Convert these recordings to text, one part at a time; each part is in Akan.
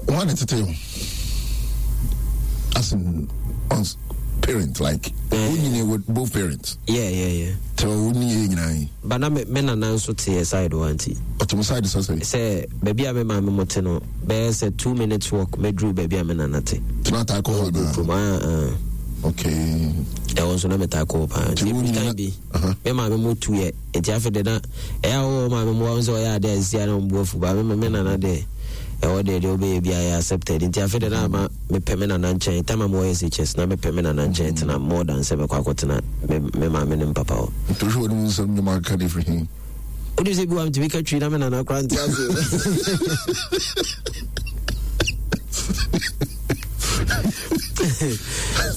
Wọn ne tete o as in on parent like wo nyini with both parents. Yeah. Tẹ wo ni yɛ nyinaa yi. Ba na me me nana nso te yɛ side wa nti. Ɔte mo side sɛ sɛ. Sɛ baabi a me maame mo te no bɛyɛ sɛ 2 minutes walk mɛduru baabi a me nana te. Tena taa kɔ hɔ anaa. Kurom ah ah. Okay. Ɛwɔ nso na me taa kɔ hɔ paa. Nti wo nyina nyina bi me maame mo tu yɛ nti afei de na ɛyɛ a wɔwɔ maame mo wɔn sɛ ɔyɛ ade a sisi a na wɔn bu afu ba me me nana deɛ ɛwɔ deɛ deɛ ɔbɛyɛ bi ayɛ accepted nti afei de na ama mepɛ me nana nkyɛn time a mewɔ SHS na mepɛ me nana nkyɛn tena more than sɛ mɛkɔ akɔtena me me maame ne me papa hɔ. Nti wohwɛ wɔn mu nsɛm nnwuma akeka de firi he? Wonim sɛ bi wa metumi ka twi na me nana koraa nte aseɛ.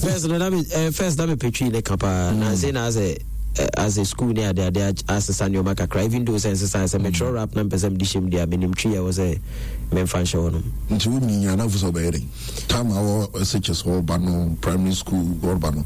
First no na me first na mepɛ twi ne ka paa na sei na asɛ asɛ school ne ade ade asesa nneɛma kakra, even though sɛ nsesa sɛ metwerɛ rap na mpɛ sɛ mede hyɛ mu deɛ a, menim twi a ɛwɔ sɛ memfa nhyɛ hɔ nom. Nti wo nyi anafo sɛ ɔbɛyɛ dɛn time a wɔ SHS hɔ no, primary school hɔ no?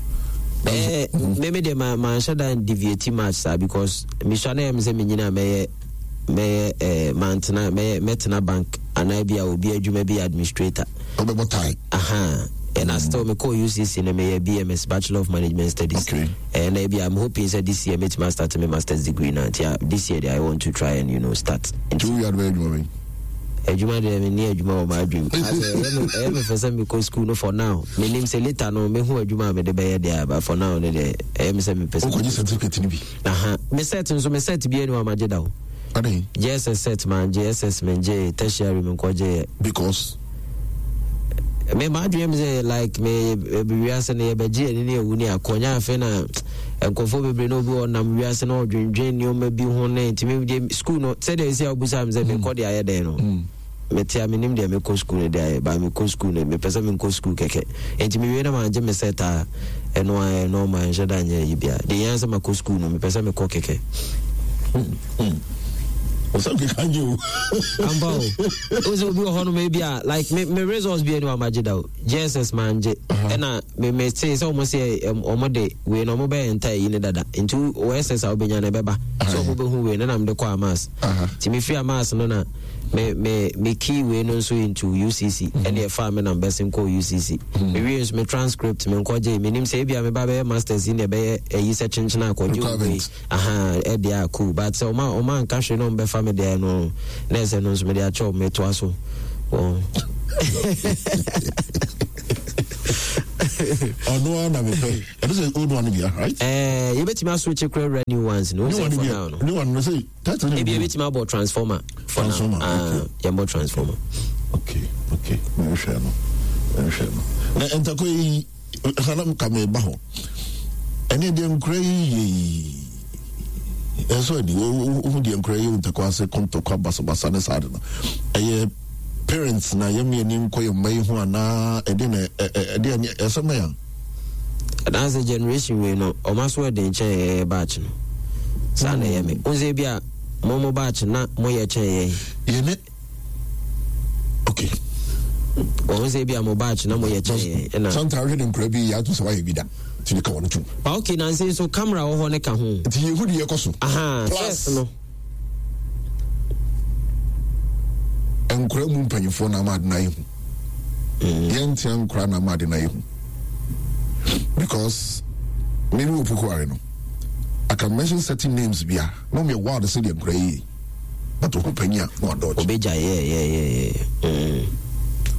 Me deɛ manhyɛ da deviate much saa because mesua na ɛyɛ me sɛ menyina mɛyɛ mantena mɛyɛ mɛtena bank anaa bi a obi adwuma bi administrator. Ɔbɛbɔ tie. Aha, ɛna still mekɔɔ UCC no, meyɛ BMS, Bachelor of Management Studies. Ɛna bi I'm hoping sɛ this year mɛtumi astart me masters degree na nti this year deɛ I want to try and start. Nti wo wiade bɛyɛ adwuma bɛyi? Adwuma deɛ, menni adwuma wɔ m'adwene mu. Ɛyɛ me fɛ sɛ mekɔ school no for now. Menim sɛ later no mehu adwuma a mede bɛyɛ deɛ, but for now no deɛ ɛyɛ me sɛ mepɛ sɛ wokɔgye certificate no bi. Aha, me cert nso, me cert bi ani wɔ amagye da o. Ade? JSS cert mangye, SS mengye, tertiary menkɔgye yɛ. Because? Me m'adwene mi sɛ like me wiase no yɛbɛgye yɛn ne ewu ne akɔ nya. Afei na nkurɔfoɔ bebree na obi wɔ nam wiase na ɔdwendwen nneɛma bi ho ne ntumi deɛ school no sɛdeɛ esi a obusa mi sɛ mekɔ deɛ ayɛ dɛn no, mete a menim deɛ mekɔ school no deɛ ayɛ ba. Mekɔ school no, mepɛ sɛ menkɔ school kɛkɛ nti mewie na magye me cert a ɛno a ɛno ɔma nhyɛ da nyɛ yi bia deɛ yɛn sɛ makɔ school no, mepɛ sɛ mekɔ kɛkɛ. Ɔsɛ keka nye o. Ampa o, o sɛ obi wɔ hɔ nom ebi a like me results bi ani wa magye da o. JSS mangye, ɛna me te sɛ ɔmo sɛ ɔmo de wei na ɔmo bɛyɛ nta yi ne dada nti wɔ SS a wobɛnya no ɛbɛba sɛ ɔmo bɛhu wei no na mede kɔ amas. Nti mefiri amas no na me key wei no nso into UCC, ɛne ɛfaa me nam bɛsen kɔɔ UCC. Mewie nso me transcript menkɔgye. Menim sɛ ebia meba bɛyɛ masters yi na ɛbɛyɛ ayi sɛ kyenkyena akɔgye wei. Aha, ɛdeɛ a cool, but sɛ ɔma anka hwee na ɔmo bɛfa me deɛ no na ɛsɛ no nso mede akyɛw metoa so wɔn. Ɔno ara na mepɛ. Ɛno sɛ old one bia, right? Ɛɛ, yɛbɛtumi aswitch kora wura new ones no. New one for bia now no. New one no sɛ title no. Ebi yɛbɛtumi abɔ Transformer for now. Transformer, Ah, okay. Yɛmbɔ Transformer. Okay, mehwɛ no, mehwɛ no na ntakɔ yi sanam ka meba hɔ. Ɛne deɛ nkura yi yɛ yi ɛsɛ adi wohu deɛ nkura yi ntakɔ ase kɔntɔkwa basabasa ne saa de no, ɛyɛ parents na yɛm yɛ ni nkɔ yɛ mma yi ho anaa ɛde na ɛde ɛne ɛsɛm na yɛn Anaasɛ generation wei no ɔma so ɛden kyɛn ɛyɛ batch no saa na ɛyɛ me wo sɛ bi a mo batch na moyɛ kyɛn yɛn. Yɛne okay. Wɔn sɛ bi a mo batch na moyɛ kyɛn yɛn ɛna sometimes wohwɛ de nkura bi yɛ ato sɛ wayɛ bi da nti de ka wɔn tom. Ba okay, nansi nso camera wɔ hɔ ne ka ho. Nti yɛhu deɛ ɛkɔ so. Aha. Plus first no nkura mu mpanyinfoɔ na ama ade na ayɛ hu. Yɛntea nkura na ama ade na ayɛ hu because maybe wɔ pukuare no, I can mention certain names bi a na ɔmo yɛ wild sɛ deɛ nkura yi, but ɔho panyin a na wadɔɔgye. Obegya yɛ.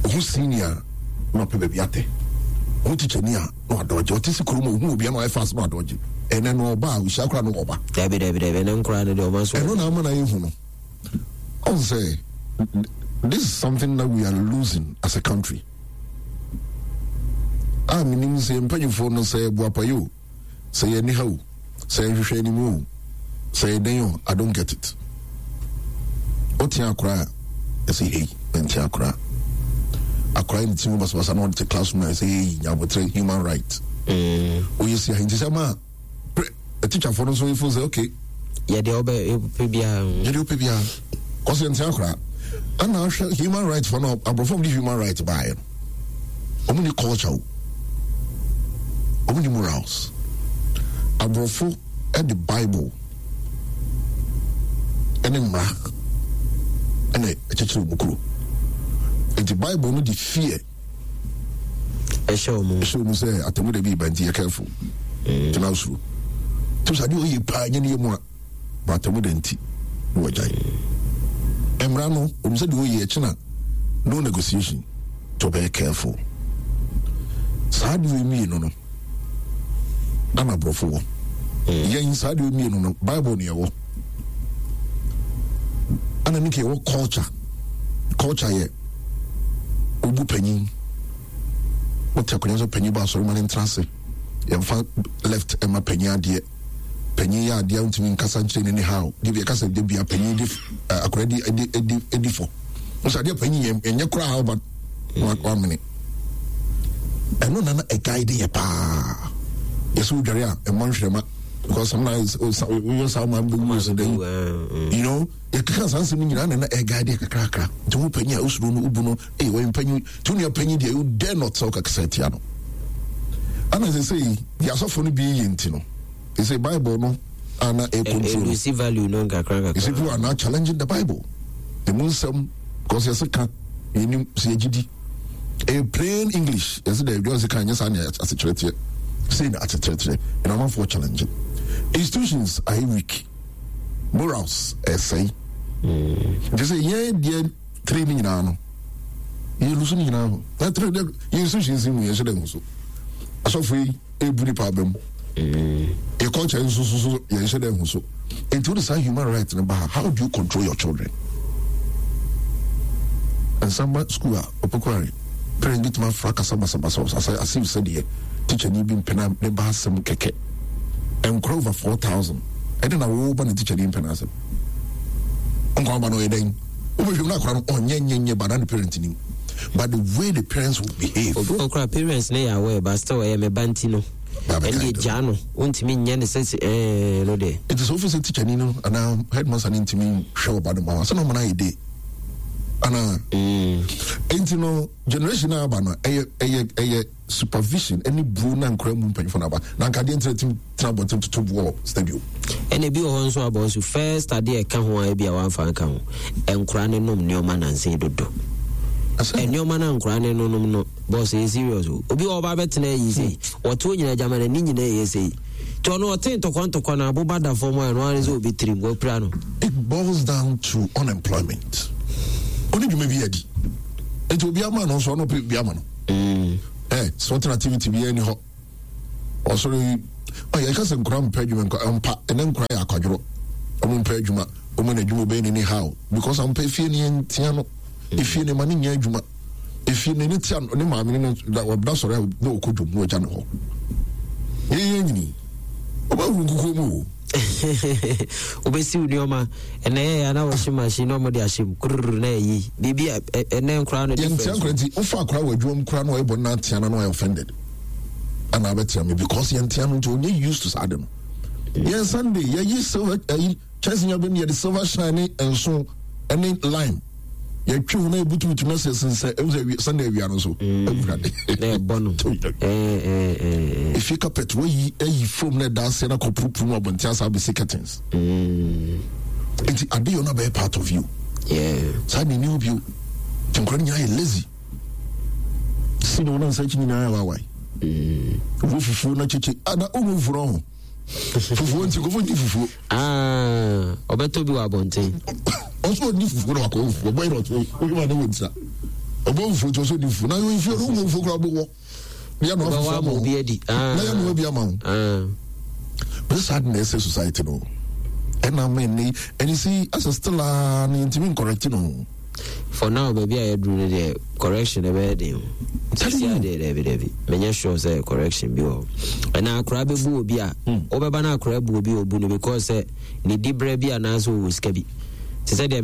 Ɔho senior na ɔpɛ baabi atɛ, ɔho tikyani a na wadɔɔgye, ɔte si kurom ɔho obi a na ɔyɛ fast na wadɔɔgye. Ɛnɛ no ɔba a ohyia koraa na ɔba. Dabi, ɛnɛ nkora no deɛ ɔma so. Ɛno na ama na yɛhu no ɔn sɛ this is something that we are losing as a country a menim sɛ mpanyinfoɔ no sɛ boapayɛ o, sɛ yɛ niha o, sɛ yɛhwehwɛ anim o, sɛ yɛ dɛn o, I don't get it. Wote akora a ɛsɛ hei nte akora akora ne ti mu basabasa na ɔde te classroom a ɛsɛ hei nyabotrɛ human right. Oyɛ si ahenti sɛ ma teacherfoɔ no nso yɛfo sɛ okay. Yɛde ɔbɛ pɛ biara. Yɛde ɔpɛ biara kɔsɛ nte akora ana ahwɛ human right fo no. Aborɔfo de human right baeɛ no, ɔmo ni culture o, ɔmo ni morals. Aborɔfo de Bible ɛne mmara. Ɛna ɛkyekyere wɔn kuro. Nti Bible no de fear ɛhyɛ wɔn ɛhyɛ wɔn sɛ atemu da bi ba nti yɛ careful. Mm. Tena soro. Tí sɛ adeɛ ɔyɛ paa nyɛ ne yɛ mu a ba atemu da nti na wɔgyae. Mmara no wɔn sɛ deɛ ɔyɛ ɛkyina no negotiation tí ɔbɛyɛ careful. Saa adeɛ mmienu no. Ana aborɔfo wɔ yɛn saa deɛ mmienu no Bible ne ɛwɔ ana ne ka ɛwɔ culture. Culture yɛ obu panyin, wote akonnwa sɛ panyin ba asɔre ma ne ntena ase, yɛmfa left ɛma panyin adeɛ, panyin yɛ adeɛ ntumi nkasa nkyerɛ ne ne how de bi ɛkasa de bia panyin di akora di di di di fɔ nso adeɛ panyin yɛ ɛnyɛ koraa how but wamene ɛno na na ɛguide yɛ paa. Yɛsɛ wodware a ɛmmɔ nhwerɛma because sometimes woyɛ saa ma bɛwu sɛ dɛn, you know, yɛkeka saa nsɛm nyinaa na na ɛguide yɛ kakrakra. Nti wo panyin a wosuro no wobu no ee wɔyɛ mpanyin nti wo nua panyin deɛ you dare not sɛ wokakasa atia no. Ana sɛ sɛ deɛ asɔfo no bi yɛ nti no sɛ Bible no ana ɛ control no value no nkakra nkakra. You see, people are now challenging the Bible. Emu nsɛm because yɛsɛ ka yɛnim sɛ yɛgye di. Ɛyɛ plain English yɛsɛ dɛ ɛdwa sɛ ka nyɛ saa ne asekyerɛ teɛ. Sei na asekyerɛ teɛ. Ɛna amanfoɔ challenge. Institutions are weak. Morals ɛsɛe. Nti sɛ yɛn deɛ tiri ne nyinaa no yɛ lusu ne nyinaa ho. Na tiri deɛ yɛn institutions mu yɛn hyɛ dɛ ho so. Asɔfo yi ebu nipa aba mu. Yɛ culture nso so so yɛn hyɛ dɛ ho so. Nti wode saa human right no ba ha, how do you control your children? Nsamba school a ɔpɛkware parents bi tuma afra kasa basabasa asɛ as if sɛdeɛ teacher ni bi mpena ne ba asɛm kɛkɛ. Nkora over 4,000 ɛde na wo ba ne teacher ni mpena asɛm. Nkwa ba no ɔyɛ dɛn? Wobɛhwɛ mu na akora no ɔnyɛ nyɛ nyɛ ba na ne parent nim. But the way the parents will behave. Obi wɔ koraa parents ne yɛ aware but still ɛyɛ me ba nti no. Ɛnde gyaa no wontumi nyɛ ne sɛ ɛɛ no deɛ. Nti sɛ wofi sɛ teacher ni no anaa headmaster no ntumi hwɛ ɔba no ma wa sɛ na ɔma no ayɛ de anaa. Nti no generation a aba no ɛyɛ ɛyɛ ɛyɛ supervision ɛne buo na nkora mu mpanyinfoɔ no aba na nka adeɛ ntina tim tena abɔnten toto boɔ wɔ stadium. Ɛna ebi wɔ hɔ nso abɔ nso first adeɛ ɛka ho a ebi a wamfa nka ho nkora ne nom nneɛma nansa dodo. Nneɛma na nkora ne nom no boss ɛyɛ serious o. Obi wɔ ɔba bɛtena ayi sei wɔte nyina gyama n'ani nyina ɛyɛ sei nti ɔno ɔte ntɔkwa ntɔkwa na aboba da fam a ɛno ara ne sɛ obi tirim wapira no. It boils down to unemployment. Oni dwuma bi adi. Nti obi ama no nso ɔno pɛ bi ama no. Eh, sorting activity bi ani hɔ. Ɔsɔre yi, ɔyɛ ɛka sɛ nkora mpɛ adwuma nkora mpa ɛnɛ nkora yɛ akwadworɔ. Ɔmo mpɛ adwuma, ɔmo na adwuma ɔbɛyɛ n'ani how because ampa efie ne yɛn tia no. Efie ne ma ne nyɛ adwuma. Efie ne ne tia ne maame ne no da sɔre a na ɔkɔ dwom na ɔgya ne hɔ. Yɛn yɛn nyini. Ɔbɛhuru nkukuo mu o. Wobɛsiw nneɛma ɛnɛ yɛ na wɔhye machine na wɔde ahyɛ mu kururu na ɛyi biribi a ɛnɛ nkoraa no difference. Yɛntia nkora nti wofa akora wɔ adwuma mu koraa na ɔyɛ bɔne na atea no na ɔyɛ offended ana abɛtea me because yɛntea no nti ɔnyɛ used to saa de no. Yɛn Sunday yɛyi silver ɛyi kyɛnse nya bɛm yɛde silver shine ne nso ɛne lime yɛtwe ho na yɛbutubutu na sɛ sensɛ ɛmu sɛ Sunday awia no nso awurade na ɛbɔ no efie carpet wayi ayi fam na ɛda aseɛ na kɔpurupuru mu abɔnten asa abɛsi curtains nti ade yɛ ɔno abɛyɛ part of you saa ne ni hɔ bio nti nkora no nyinaa yɛ lazy si na ɔno nsa akyi nyinaa yɛ wawae wo fufuo na kyekye ada ɔmu fufuo no ho fufuo nti nkɔfo nni fufuo. Ɔbɛtɔ bi wɔ abɔnten. Ɔsɛ ɔnni fufuo na wakɔ fufuo ɔbɔ yɛrɛ ɔtɔ wohwɛ ma ne wɔ ntira ɔbɔ fufuo nti ɔsɛ ɔnni fufuo na yɛ nfuo no wɔ fufuo koraa ɔbɛwɔ na yɛ noa fufuo ama wo na yɛ noa bi ama wo bɛ saa de na ɛsɛ society no ɛna ama ɛnɛ ɛne si asɛ still a ne ntumi ncorrect no. For now baabi a yɛduru no deɛ correction ɛbɛyɛ den o. Sisi adeɛ daabi daabi menyɛ sure sɛ correction bi wɔ hɔ. Ɛna akora bɛbu obi a wobɛba na akora bu obi a obu no because sɛ ne diberɛ bi anaasɛ ɔwɔ sika bi. Te sɛ deɛ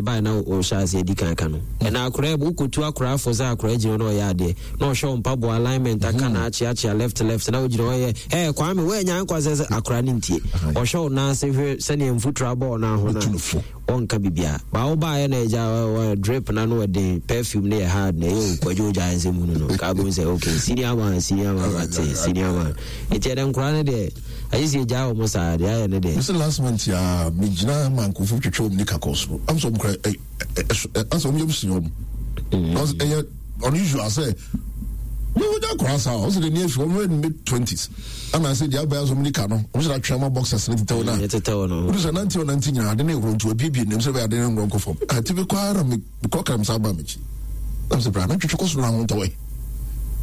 yɛbae na wohyɛ aseɛ di kan ka no. Ɛna akora wokɔtu akora afo sɛ akora gyina hɔ na ɔyɛ adeɛ na ɔhwɛ wo mpaboa alignment aka na akyeakyea left left na wogyina hɔ yɛ ɛɛ Kwame woanya nkwa sɛ sɛ akora no ntie. Ɔhwɛ wo nan ase hwɛ sɛdeɛ mfuturo abɔ wo nan ho no a ɔnka biribiara. Ba wo baeɛ na agya wɔ drip na no ɔden perfume no yɛ hard na ɛyɛ kwadwo gya nsɛm hunu no ka bɛhu sɛ okay senior man senior man mate senior man nti ɛdɛ nkora no deɛ agye sɛ yɛgyaa wɔ mo saa deɛ ayɛ no deɛ. Mese last month a megyina ma nkurɔfoɔ twetwe wɔn nika. Akɔ soro. Am sɛ ɔmo kora ɛ ɛ ɛ asɛ ɔmo yam si ɔmo. Because ɛyɛ unusual sɛ yɛwɔ gya akora saa ɔsɛ de ni efi ɔmo yɛ mid 20s. Ɛna sɛ deɛ abɛn asɔ ɔmo nika no ɔmo sɛ atwɛn ma boxers ne tetɛw na. Tetɛw no. Wodi sɛ nante ɔnante nyinaa ade ne ehoro nti wabiebie nam sɛ bɛyɛ ade ne ngorɔ nkɔ fam. Ati bi kɔ ara me kɔ kram saa ba m'akyi. Na sɛ bra na twetwe kɔ soro na ho ntɔwɛ.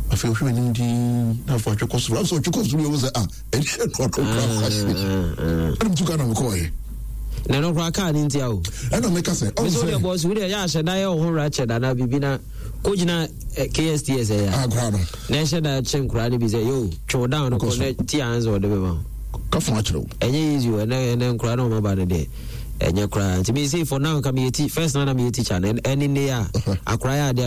Afei ɔhwɛ m'anim dinn na afei ɔtwe kɔ soro. Afei ɔtwe kɔ soro yɛ wo sɛ ah ɛne ɛno ɔno kora kɔ ase. Ɛna metu ka na mekɔɔyɛ. Na ɛno koraa kaa ne ntia o. Ɛna meka sɛ ɔn sɛ. Mesɛ bɔs wo deɛ yɛ ahyɛ da yɛ wo ho ratchet anaa biribi na kɔgyina KSTS ɛyɛ. Akora no. Na ɛhyɛ da kye nkoraa no bi sɛ yo twe wo down no kɔ na ti ansa ɔde bɛma wo. Ka fo akyerɛ wo. Ɛnyɛ easy o ɛnɛ ɛnɛ nkoraa na ɔma ba no deɛ ɛnyɛ koraa nti me say for now nka meyɛ ti first na na meyɛ teacher no ɛne nne a akora yɛ adeɛ.